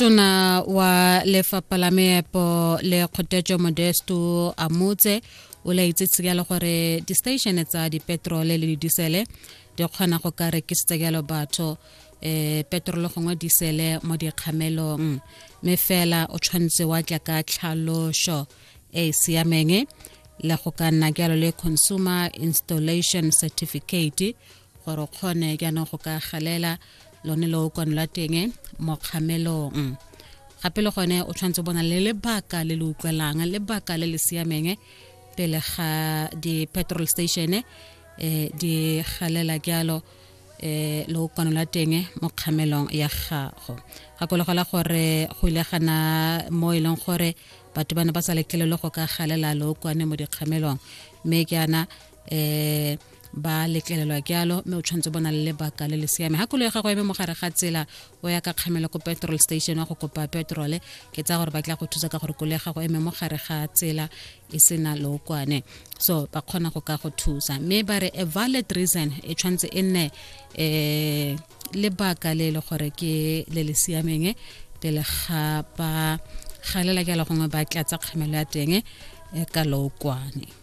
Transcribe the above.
Tona wa lefapha la meepo le kgotetso Modesto Amutse o laitse jalo gore di-station tsa dipetrole le didisele di kgona go ka rekisetsa jalo batho eh petrole gongwe disele mo dikgamelong, mme fela o tshwanetse wa tla ka tlhaloso e e siameng le go ka nna jalo le consumer installation certificate gore o kgone jaanong go ka galela lone lookwane lwa teng mo kgamelong. Gape le gone o tshwanetse bona le lebaka le le utlwelang, lebaka le le siameng, pele ga di-petrol station di galela jalo lookwane lwa teng mo kgamelong ya gago. Gakologela gore go ile gana mo e leng gore batho ba ne ba sa letlelelwe go ka galela lookwane mo dikgamelong, mme ke ana ba letlelelwa jalo, mme o tshwanetse bona le lebaka le le siame. Ga koloi ya gago eme mo gare ga tsela, o ya ka kgamelo ko petrol station wa go kopa petrole, ke tsaya gore ba tla go thusa ka gore koloi ya gago eme mo gare ga tsela e sena lookwane, so ba kgona go ka go thusa. Mme ba re a valid reason e tshwanetse e nne lebaka le le gore ke le le siameng pele ga ba galela jalo gongwe ba tlatsa kgamelo ya teng ka lookwane.